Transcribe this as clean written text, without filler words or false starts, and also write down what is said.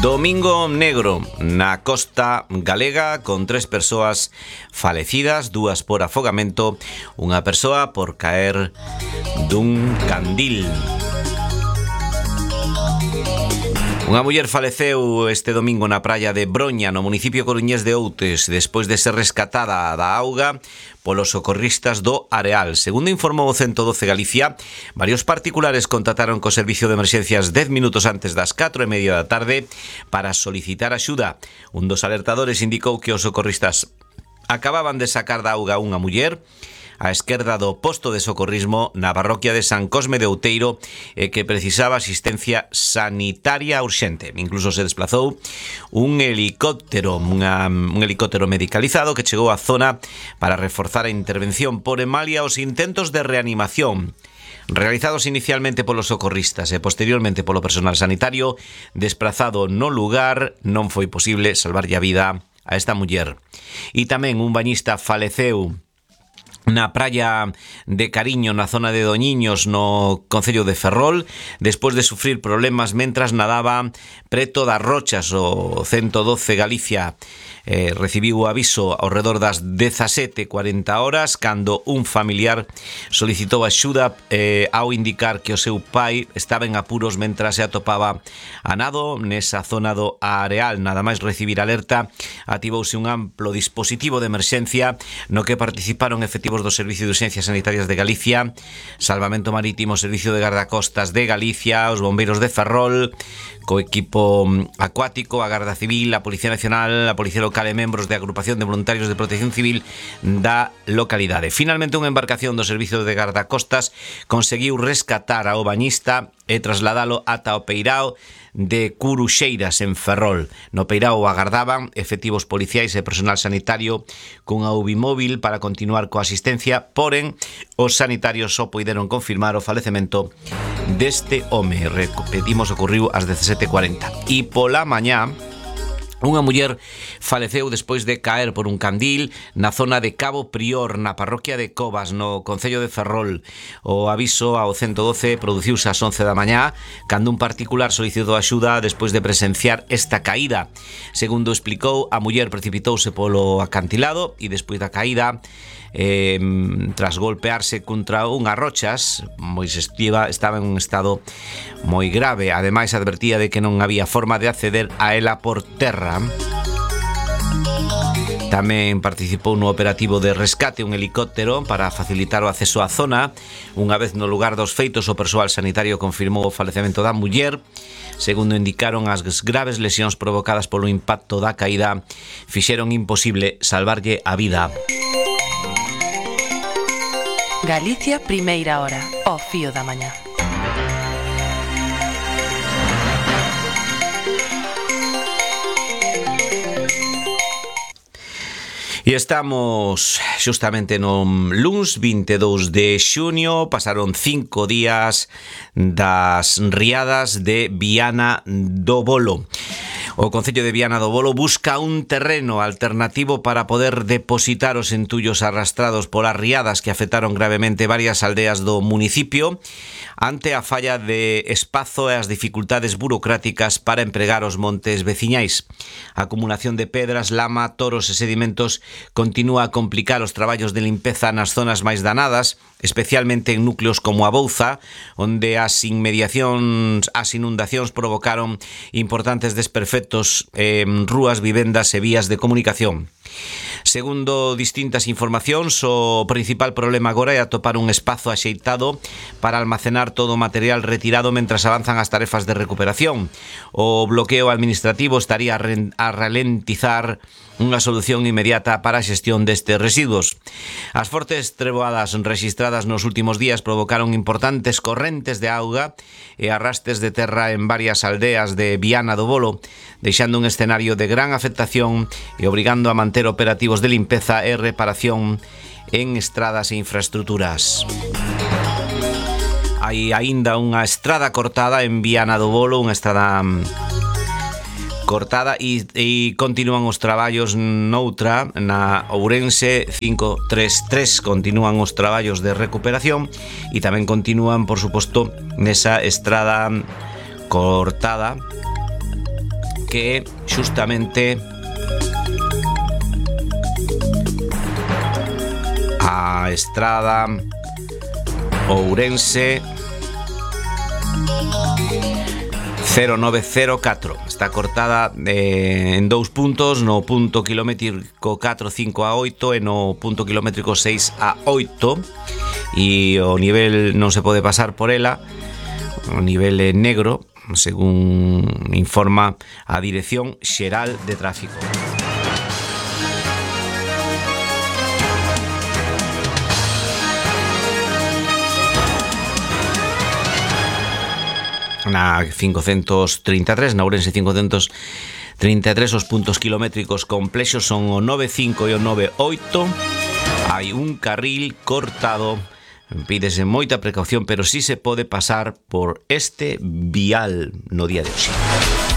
Domingo negro na costa galega con 3 persoas falecidas, 2 por afogamento, unha persoa por caer dun candil. Unha muller faleceu este domingo na praia de Broña, no municipio coruñés de Outes, despois de ser rescatada da auga polos socorristas do Areal. Segundo informou o 112 Galicia, varios particulares contactaron co servicio de emerxencias 10 minutos antes das 4:30 da tarde para solicitar axuda. Un dos alertadores indicou que os socorristas acababan de sacar da auga unha muller á esquerda do posto de socorrismo na parroquia de San Cosme de Outeiro e que precisaba asistencia sanitaria urxente. Incluso se desplazou un helicóptero medicalizado que chegou á zona para reforzar a intervención. Por emalia os intentos de reanimación realizados inicialmente polos socorristas e posteriormente polo personal sanitario desplazado no lugar, non foi posible salvarlle a vida a esta muller. E tamén un bañista faleceu na praia de Cariño, na zona de Doñiños, no concello de Ferrol, despois de sufrir problemas mentras nadaba preto das rochas. O 112 Galicia recibiu o aviso ao redor das 17:40 horas cando un familiar solicitou axuda ao indicar que o seu pai estaba en apuros mentras se atopaba a nado nesa zona do Areal. Nada máis recibir alerta, activouse un amplo dispositivo de emerxencia no que participaron efectivos do Servicio de Urxencias Sanitarias de Galicia, Salvamento Marítimo, Servicio de Gardacostas de Galicia, os bombeiros de Ferrol, co equipo acuático, a Garda Civil, a Policía Nacional, a Policía Local e membros de agrupación de voluntarios de protección civil da localidade. Finalmente, unha embarcación do Servicio de Gardacostas conseguiu rescatar ao bañista e trasladalo ata o peirao de Curuxeiras en Ferrol. No peirao agardaban efectivos policiais e personal sanitario cunha UBI para continuar coa asistencia, porén os sanitarios só puideron confirmar o falecemento deste home. Repetimos, ocorriu ás 17:40. E pola mañá unha muller faleceu despois de caer por un candil na zona de Cabo Prior, na parroquia de Covas, no concello de Ferrol. O aviso ao 112 produciuse ás 11 da mañá, cando un particular solicitou axuda despois de presenciar esta caída. Segundo explicou, a muller precipitouse polo acantilado e despois da caída, tras golpearse contra unhas rochas, estaba en un estado moi grave. Ademais, advertía de que non había forma de acceder a ela por terra. Tamén participou no operativo de rescate un helicóptero para facilitar o acceso á zona. Unha vez no lugar dos feitos, o persoal sanitario confirmou o falecemento da muller. Segundo indicaron, as graves lesións provocadas polo impacto da caída fixeron imposible salvarlle a vida. Galicia, primeira hora, ao fío da mañá. E estamos xustamente no luns 22 de xuño, pasaron 5 días das riadas de Viana do Bolo. O Concello de Viana do Bolo busca un terreno alternativo para poder depositar os entullos arrastrados polas riadas que afectaron gravemente varias aldeas do municipio ante a falla de espazo e as dificultades burocráticas para empregar os montes veciñais. A acumulación de pedras, lama, toros e sedimentos continúa a complicar os traballos de limpeza nas zonas máis danadas, especialmente en núcleos como a Bouza, onde as inundacións provocaron importantes desperfectos en rúas, vivendas e vías de comunicación. Segundo distintas informacións, o principal problema agora é atopar un espazo axeitado para almacenar todo o material retirado mentras avanzan as tarefas de recuperación. O bloqueo administrativo estaría a ralentizar unha solución inmediata para a xestión destes residuos. As fortes treboadas rexistradas nos últimos días provocaron importantes correntes de auga e arrastes de terra en varias aldeas de Viana do Bolo, deixando un escenario de gran afectación e obrigando a manter operativos de limpeza e reparación en estradas e infraestructuras. Hai aínda unha estrada cortada en Viana do Bolo, unha estrada cortada e continúan os traballos noutra, na Ourense 533, continúan os traballos de recuperación e tamén continúan, por suposto, nesa estrada cortada que xustamente a estrada Ourense 0904 está cortada en 2 puntos, no punto kilométrico 4, 5 a 8 e no punto kilométrico 6 a 8, e o nivel non se pode pasar por ela, o nivel é negro, según informa a Dirección Xeral de Tráfico. Na 533, na Ourense 533, os puntos kilométricos complexos son o 95 e o 98. Hai un carril cortado. Pídese moita precaución, pero sí se pode pasar por este vial no día de hoxe.